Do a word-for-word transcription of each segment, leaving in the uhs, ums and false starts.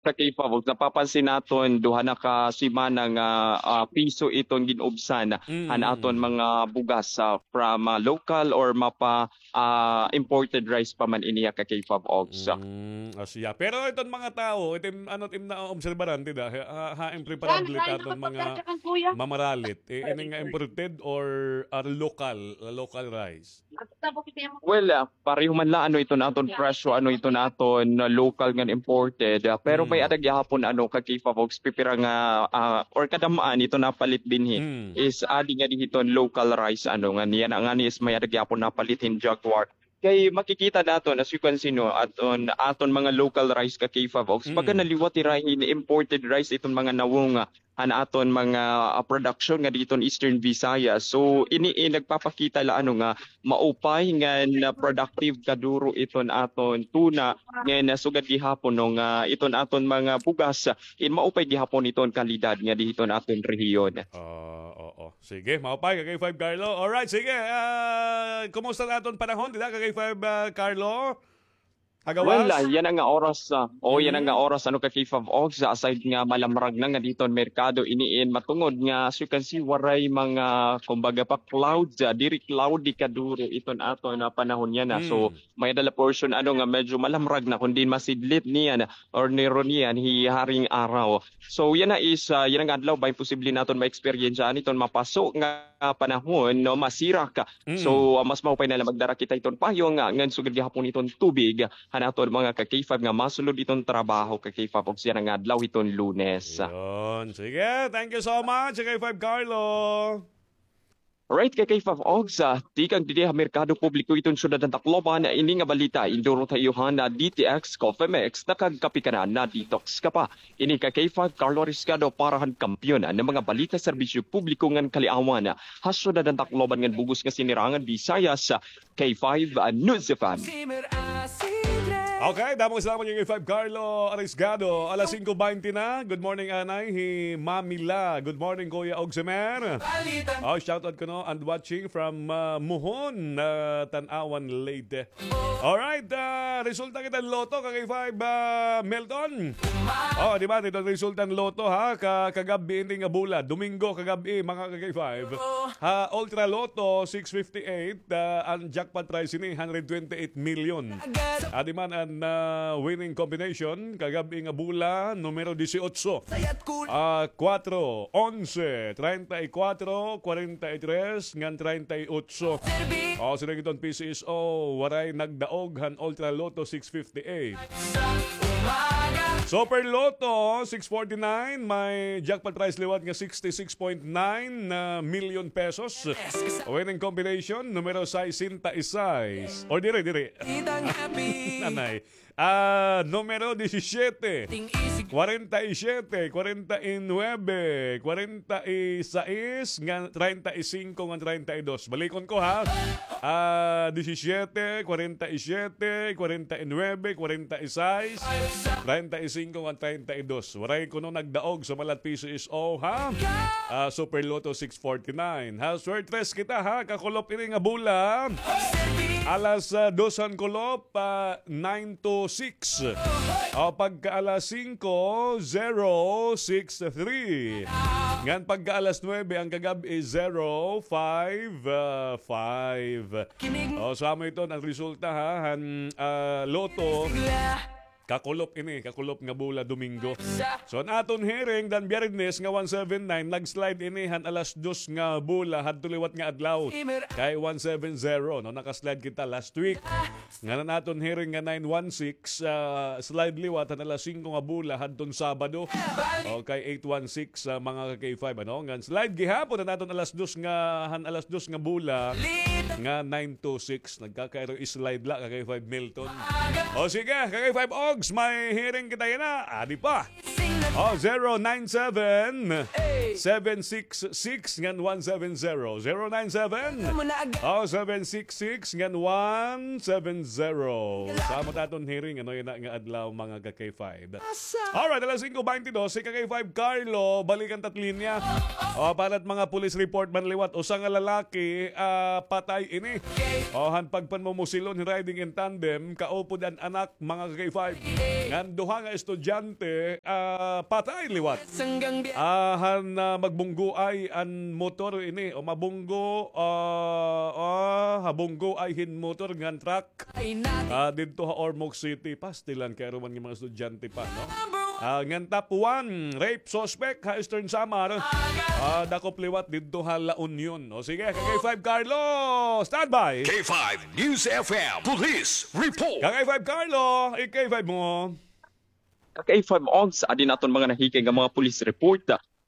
Sa K five Ogs, napapansin naton duha na ka semana nga, ah, piso iton gin-ubsan han aton mga bugas, ah, from, ah, local or mapa, ah, imported rice pa man ini, ah, ka K five Ogs. Mm, ah, siya. Pero iton mga tawo, iton ano, iton naoobserbaran, di ba? Ha, ha, ha, impreparable ta aton mga mamaralit. Eh, ini nga imported or, ah, local, local rice? Well, ah, pareho man la ano iton aton presyo, ano iton aton, ah, local ngan imported. Ah, pero may ada gihapon ano ka K five Ogs, pipira nga, ah, or kadam-an iton napalit dinhi is adi nga dinhi iton local rice ano nga niya na nga ni is may ada gihapon napalit hin Jaguar. Kay makikita naton, as you can see, no, aton, aton mga local rice ka K five Ogs, baga naliwat hira hin imported rice iton mga nawong, ah, han aton mga, ah, production nga didto ha Eastern Visayas. So, ini, eh, nagpapakita la ano nga maupay ngan, ah, productive kaduro iton aton tuna ngan, ah, sugad gihapon no nga iton aton mga bugas, ah, in maupay gihapon iton kalidad nga didto ha aton rehiyon. Ah, oo. Sige, maupay ka K five Carlo. Alright, sige. Ah, kumusta na aton panahon dida ka K five, ah, Carlo? Well, ah, yana nga oras, ah, o yana nga oras, ano ka K five Ogs, ah, aside nga malamrag na nga didto ha merkado, ini in matungod nga, as you can see, waray mga, kumbaga pa, clouds, ah, diri cloudy kaduro iton aton panahon yana. So, may-ada la portion, ano, nga medyo malamrag na, kundi masidlit niyan, or niro niyan, hi haring araw. So, yana is, ah, yana nga adlaw, bangin posible naton ma-experience-an iton mapaso nga panahon, no, masirak. So, ah, mas maupay na la magdara kita iton payong, ah, ngan sugad gihapon iton tubig, han aton mga ka K five nga masulod iton trabaho ka K five Ogs yana nga adlaw iton Lunes. Yun. Sige, thank you so much, K five Carlo. Right, ka K five Ogs, ah, tikang didi ha merkado publiko iton syudad han Tacloban, ini nga balita, indurot ha iyo han D T X Coffee Mix, nakagkape ka na, na-detox ka pa. Ini ka K five Carlo Riscado para han kampiyon nga mga balita, serbisyo publiko ngan kaliawan ha syudad han Tacloban ngan bug-os nga sinirangan Visayas, K five News F M. Okay, damo nga salamat, K five Carlo Arisgado. Alas singko baynte na. Good morning, anay hi Mami La. Good morning, Kuya Ogsimer. Oh, shout out kuno and watching from, ah, Mohon, ah, Tanauan, Leyte. Alright, ah, resulta kita lotto, ka K five, ah, Milton. Oh, di ba? Ito resulta han lotto, ha? Ka, kagab-i ini nga bula. Domingo kagab-i, mga ka K five. Ha Ultra Lotto six fifty-eight, ah, an jackpot prize ini, hundred twenty-eight million. Adi man an, ah, winning combination, kagab-i nga bula, numero dieciocho. Ah, cuatro, once, treinta y cuatro, cuarenta y tres, ngan treinta y ocho. O, sila giton P C S O, waray nagdaog han Ultra Lotto six fifty-eight. Super Lotto six forty-nine, may jackpot prize liwat nga sixty-six point nine na million pesos. Winning combination, numero sesenta y seis. Or dire, dire. Nanay. Ah, numero diecisiete, cuarenta y siete, cuarenta y nueve, cuarenta y seis, ngan treinta y cinco, ngan treinta y dos. Balikon ko, ha. Ah, diecisiete, cuarenta y siete, cuarenta y nueve, cuarenta y seis, treinta y cinco, ngan treinta y dos. Waray kuno nagdaog sumala han P C S O, ha. Ah, Super Lotto six forty-nine. Ha, swertres kita, ha. Kakulop ini nga bula. Alas, ah, dos han kulop, ah, nine two six. O, pagka alas singko, zero six three. Ngan pagka alas nuebe, an kagab-i, zero five five. O, so amo iton an resulta, ha, han, ah, lotto. Kakulop ini, kakulop nga bula Domingo. So, an aton hearing dan Biyernes nga one seven nine, nag-slide ini han alas dos nga bula hadto liwat nga adlaw. Kay one seven zero, no, naka-slide kita last week. Ngan an aton hearing nga nine one six, ah, slide liwat han alas singko nga bula hadton Sabado. Okay, eight one six, ah, mga ka K five, ano? Ngan slide gihapon an aton alas dos nga, han alas dos nga bula nga nine two six. Nagkakairo slide la, ka K five Milton. O sige, ka K five Ogs, may hearing kita yana. Adi pa. Oh, zero nine seven, seven six six ngan one seven zero. Zero nine seven, oh, seven six six ngan one seven zero. Sa mo taton hearing, ano yun na nga adlaw, mga ka-K five. Alright, alas singko baynte dos, si ka-K five Carlo, balikan tat linya. Oh, para mga police report man liwat, usa nga lalaki, ah, patay ini. Oh, han pagpanmumusilon, riding in tandem, kaupod an anak, mga ka-K five. Ngan duha nga estudyante, ah, patay liwat. Ah, han, ah, magbunggoay an motor ini, o mabunggo, ah, ah, habunggoay hin motor ngan truck. Ah, didto ha Ormoc City, pastilan kay aruman nga mga estudyante pa, no? Ah, ngan top one, rape suspect ha Eastern Samar. Ah, dakop liwat didto ha La Union. O sige, ka-K five Carlo, standby. K five News F M Police Report. Ka-K five Carlo, i-K five mo. Ka-K five Ogs, adi naton mga nahikay nga mga police report.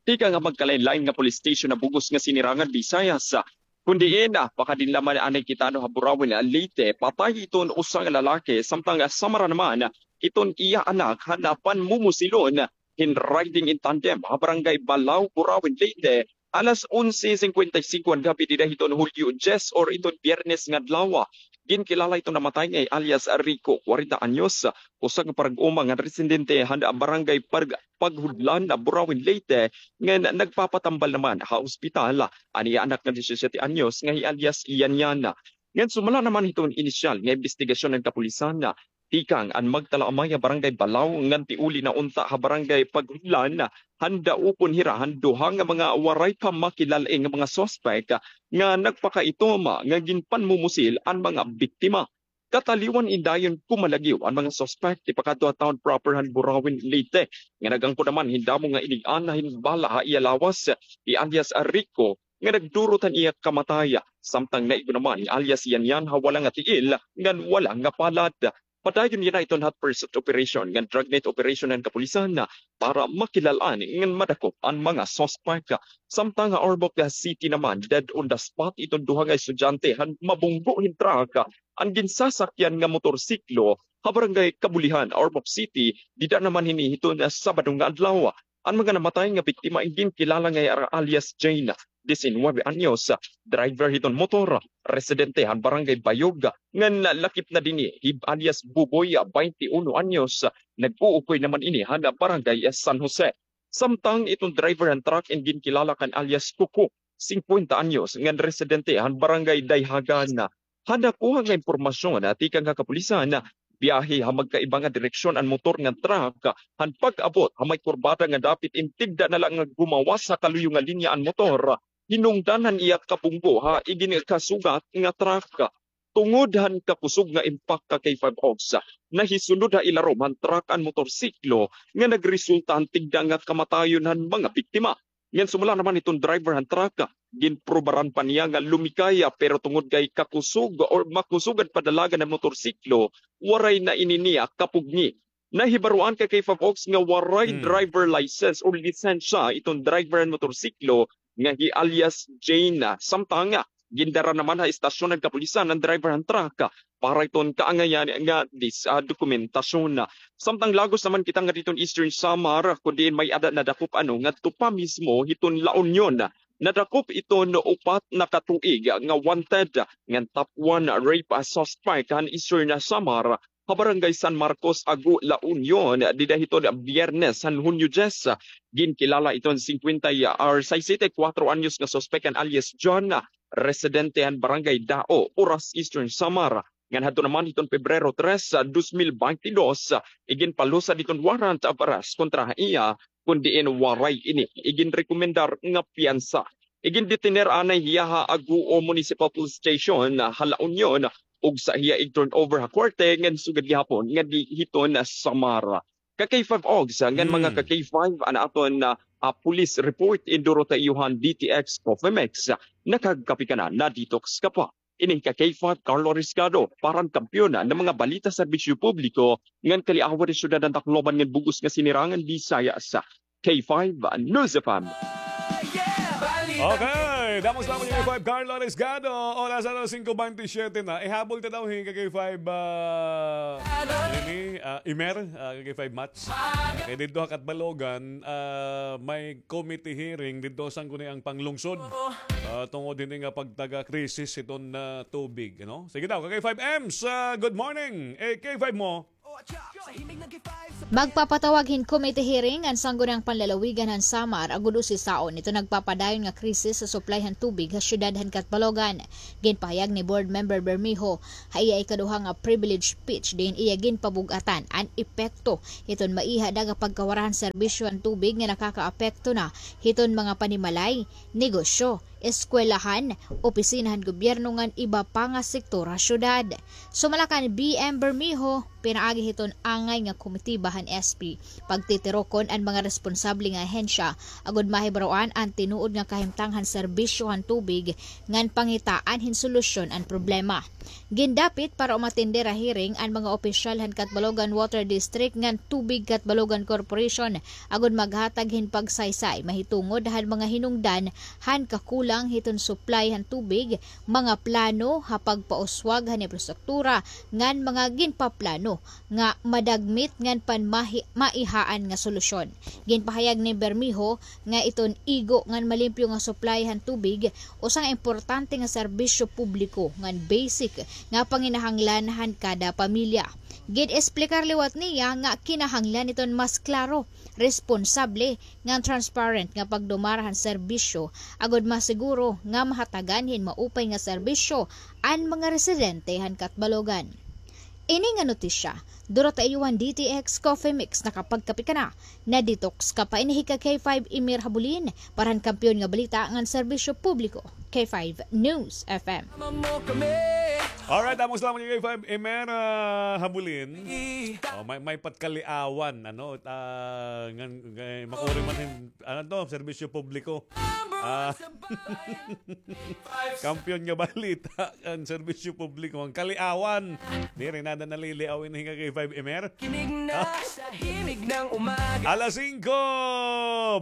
Tikang ha magkalain-lain nga police station ha bug-os nga Sinirangan, Visayas. Kun diin, ah, pakadinla man anay kita, no, ha Burauen, ah, Leyte, patay iton usa nga lalaki, samtang, ah, samara naman iton iya anak han panmumusilon hin riding in tandem ha Barangay Balao, Burauen, Leyte, alas onse singkwenta y singko han gab-i dida hiton Hulyo dyes or iton Biyernes nga adlaw. Ginkilala iton namatay nga hi alias Rico, kwarenta anyos, usa ka parag-uma nga residente han Barangay Parg-, Paghudlan, Burauen, Leyte, ngan nagpapatambal naman ha ospital an iya anak nga disisiete anyos nga hi alias Yan Yan. Ngan sumala naman hiton inisyal nga imbestigasyon han kapulisan, tikang an magtalaamay ha Barangay Balao ngan tiuli na unta ha Barangay Paghudlan, han daopon hira han duha nga mga waray pa makilal-i nga mga suspek nga nagpakaitom nga ginpanmumusil an mga biktima. Kataliwan in dayon kumalagiw an mga suspek tipakadto ha town proper han Burauen, Leyte, nga nag-angkon naman hin damo nga inig-ana hin bala ha iya lawas, hi alias Rico, nga nagdurot han iya kamatay, samtang naigo naman hi alias Yan Yan ha wala nga tiil ngan wala nga palad. Padayon yana iton hot pursuit operation ngan dragnet operation han kapulisan para makilal-an ngan madakop an mga suspek. Samtang ha Ormoc City naman, dead on the spot iton duha nga estudyante han mabunggo hin truck an ginsasakyan nga motorsiklo ha Barangay Kabulihan, Ormoc City, dida naman hini hiton Sabado nga adlaw. An mga namatay nga biktima in ginkilala nga hi alias Jane, disinuybe anyos, driver hiton motor, residente han Barangay Bayog, ngan lakip na dinhi hi alias Buboy, baynte uno anyos, nag-uukoy naman ini han Barangay San Jose. Samtang iton driver han truck in ginkilala kan alias Kuko, singkwenta anyos, ngan residente han Barangay Dayhagan. Han nakuha nga impormasyon, tikang ha kapulisan, biyahe ha magkaiba nga direksyon an motor ngan truck han pag-abot ha may kurbada nga dapit in tigda na la nga gumawas ha kaluyo nga linya an motor, hinungdan han iya kabunggo ha iginkasugat nga truck. Tungod han kakusog nga impact, ka-K five Ogs, nahisulod ha ilarom han truck an motorsiklo nga nagresulta han tigda nga kamatayon han mga biktima. Ngan sumala naman hiton driver han truck, ginprobaran pa niya nga lumikay, pero tungod kay kakusog or makusog an padalagan han motorsiklo, waray na ini niya kapugngi. Nahibaroan, ka-K five Ogs, nga waray driver license o lisensya iton driver han motorsiklo nga hi alias Jane. Samtang gindara naman ha istasyon han kapulisan an driver han truck para iton kaangayan nga dis-, ah, dokumentasyon. Samtang lagos naman kita ngadto hiton Eastern Samar, kun diin may-ada nadakop ano ngadto pa mismo hiton La Union. Nadakop iton upat na ka tuig nga wanted ngan top one rape suspect han Eastern Samar ha Barangay San Marcos, Agu, La Union, dida hiton Biyernes han Hunyo dyes. Ginkilala iton singkwenta y, or sesenta y kuwatro anyos nga suspek nga alias John, residente han Barangay Dao, Oras, Eastern Samar. Ngan hadto naman hiton Pebrero tres, dos mil baynte dos, iginpalusad iton warrant of arrest kontra ha iya, kun diin waray ini iginrekomendar nga piyansa. Igindetiner anay hiya ha Aguo Municipal Police Station ha La Union, ug sa hiya ig-turnover ha korte ngan sugad gihapon ngadto hiton Samar. Ka-K five Ogs, ngan mga ka-K five, an aton, ah, ah, police report, indurot ha iyo han D T X Coffee Mix. Nakagkape ka na, na-detox ka pa. Ini hi ka-K five Carlo Riscado para han Kampiyon nga mga balita, serbisyo publiko, ngan kaliawad han syudad han Tacloban ngan bug-os nga Sinirangan, Visayas. K five News F M. Okay, damo salamat kay K five Carlo Arisgado. Oras alas singko bente siyete na. Ihabol ta daw hin ka K five, ah, ini, ah, Imer, ah, ka K five Mats. Kay didto ha Catbalogan, ah, may committee hearing didto ha Sangguniang Panglungsod. Ah, tungod hini nga pagtaga krisis hiton, ah, tubig, ano? Sige daw, ka K five Ems, ah, good morning. Eh, K five mo? Magpapatawag hin committee hearing an Sangguniang Panlalawigan han Samar agod usisaon iton nagpapadayon nga krisis sa supply han tubig ha siyudad han Catbalogan. Ginpahayag ni Board Member Bermejo ha iya ikaduha nga privilege speech diin iya ginpabug-atan an epekto hiton maiha da nga pagkawara han serbisyo han tubig nga nakakaapekto na hiton mga panimalay, negosyo, eskwelahan, opisina han gobyerno ngan iba pa nga sektor ha syudad. Sumala kan B M Bermejo, pinaagi hiton angay nga komitiba han S P, pagtitirokon an mga responsable nga ahensya agod mahibaroan an tinuod nga kahimtang han serbisyo han tubig ngan pangitaan hin solusyon an problema. Gindapit para umatender ha hearing an mga opisyal han Catbalogan Water District ngan Tubig Catbalogan Corporation agod maghatag hin pagsaysay mahitungod han mga hinungdan han kakulang hiton supply han tubig, mga plano ha pagpauswag han imprastruktura ngan mga ginpaplano nga madagmit ngan panmahi-, maihaan nga solusyon. Ginpahayag ni Bermejo nga iton igo ngan malimpyo nga supply han tubig usa nga importante nga serbisyo publiko ngan basic nga panginahanglan han kada pamilya. Gin-esplikar liwat niya nga kinahanglan iton mas klaro, responsable, ngan transparent nga pagdumara han serbisyo agod masiguro nga mahatagan hin maupay nga serbisyo an mga residente han Catbalogan. Ini nga notisya, duro ha iyo han D T X Coffee Mix, nakapagkape ka na, na-detox ka pa. Ini hi ka K five Imer Habulin para han Kampiyon nga Balita ngan Serbisyo Publiko, K five News F M. Alright, damo salamat kay K five Imer, ah, Habulin. Oh, may, may patkaliawan, ano, ah, ngan, ngan, makuri man hin, ano to, serbisyo publiko. Ah, Kampiyon nga Balita, an serbisyo publiko, an kaliawan. Diri na da naliliaw ini hi ka K five Imer. Kinig na sa himig ng umaga. Alas singko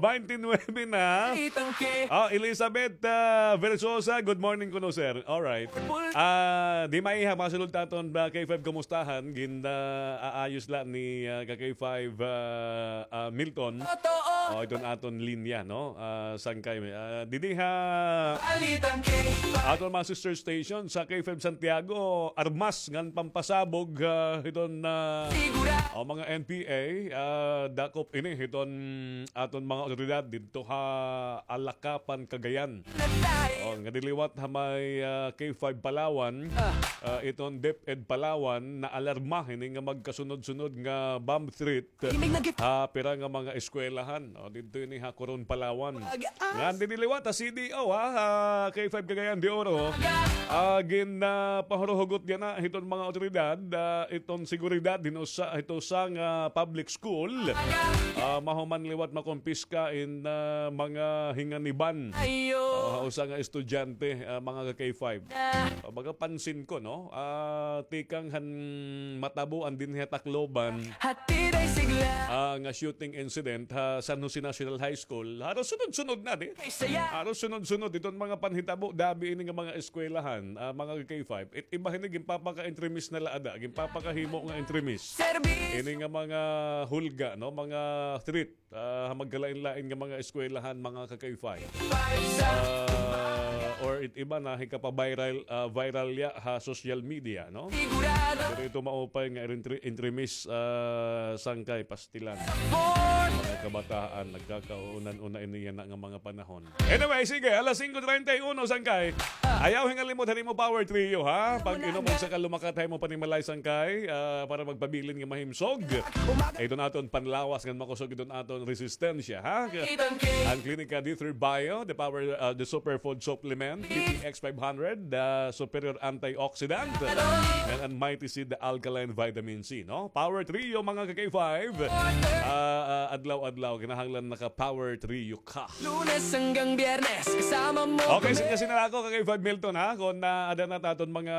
bente nuwebe na. Itang K. Ah, Elizabeth, ah, Versosa, good morning kuno, sir. Alright. Ah, di maiha, masulod ta aton ba K five kumustahan, gin, ah, aayos la ni, ah, ka K five, ah, ah, Milton. Totoo. Oh, iton aton linya, no? Ah, sangkay, ah, didi ha Balitang K five. Aton mga sister station sa K five Santiago, armas ngan pampasabog, ah, hiton, ah, Sigura. Oh, mga N P A, ah, dakop ini hiton aton mga otoridad didto ha Alacapan, Cagayan. Oh, nga diliwat ha may, ah, K five Palawan, ah, iton DepEd Palawan, naalarma hini nga magkasunod-sunod nga bomb threat ha pira nga mga eskwelahan. O, didto ini ha Coron, Palawan. Ngan didi liwat ha C D O, ha, ha K five Cagayan de Oro. Ah, gin, ah, pahuruhugot yana hiton mga otoridad, ah, iton seguridad hin usa, hito usa nga public school. Ah, mahuman liwat makumpiska in, ah, mga hinganiban. Ah, usa nga estudyante, ah, mga ka K five. Ah, baga pansin ko, no? Ah, tikang han matabo an dinhi ha Tacloban. Hatid ay sigla. Ah, nga shooting incident ha San Jose National High School. Haros sunod-sunod na, di? Kay saya. Haros sunod-sunod iton mga panhitabo, dabi ini nga mga eskwelahan, ah, mga K five. It iba hini ginpapaka-entremis na la ada, ginpapakahimo nga entremis. Serbisyo. Ini nga mga hulga, no, mga threat, ah, ha magkalain-lain nga mga eskwelahan, mga ka K five. Ah, or it iba na hikapa-viral, ah, viral ya ha social media, no? Sigurado. Pero ito maupay nga intre-, entremis, ah, sangkay pastilan. Mga kabataan, nagkakaunan-una ini yana nga mga panahon. Anyway, sige, alas singko treinta y uno, sangkay. Ayaw hingalimot han imo Power Trio, ha? Pag-inom sa kalumakat ha imo panimalay, sangkay, ah, para magpabilin nga mahimsog. Iton aton panlawas ngan makusog iton aton resistensya, ha? An Clinica D three Bio, the power, ah, the superfood supplement, P T X five hundred, the superior antioxidant, and an Mighty Seed, the alkaline vitamin C, no? Power Trio, mga ka K five. Ah, ah, adlaw adlaw, kinahanglan naka-power trio ka. Lunes hanggang Biyernes, kasama mo. Okay, kami. Sige, sige na ako, ka K five Milton, ha? Kung naada na it aton mga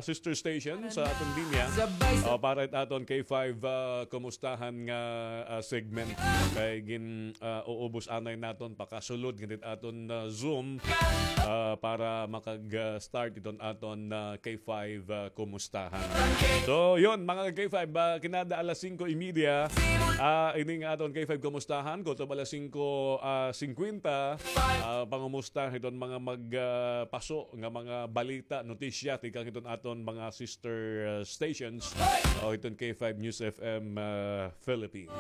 sister station sa aton linya, sabay sa o, para it aton K five, ah, kumustahan nga, ah, segment. Kay gin, ah, uubos anay naton pakasulod ngadto it aton, ah, Zoom, ah, para makag, ah, start iton aton, ah, K five, ah, kumustahan. So, yun, mga K five, ah, kinada alas singko y media, ah, ini nga aton K five kumustahan, kutob alas singko, ah, singkwenta, ah, pangumusta hiton mga mag, ah, paso nga mga balita, notisya, tikang hiton aton mga sister, ah, stations, o hiton K five News F M, ah, Philippines.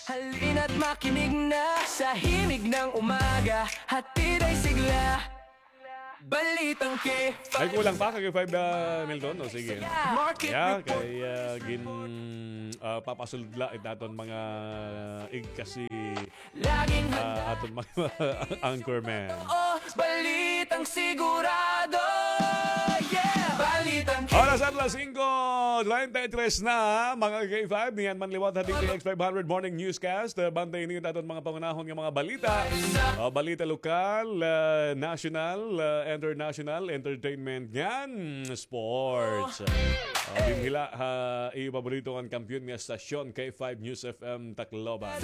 Halina't makinig na sa himig ng umaga, hatid ay sigla. Balitang K five. May kulang pa, ka K five, ah, Milton? O, sige. Market. Yeah, report. Kay, ah, gin, ah, papasulod la it aton mga igkasi, laging handa, ah, aton mga anchorman. O, balitang sigurado. Yeah, balitang K five. Oras at alas singko treinta y tres na, mga K five. Niyan man liwat ha D T X five hundred Morning Newscast. Ah, bantay niyo it aton mga pangunahon nga mga balita. Ah, balita lokal, ah, national, ah, international, entertainment, ngan sports. Ah, dinhi la ha iyo paborito nga kampiyon nga estasyon, K five News F M Tacloban.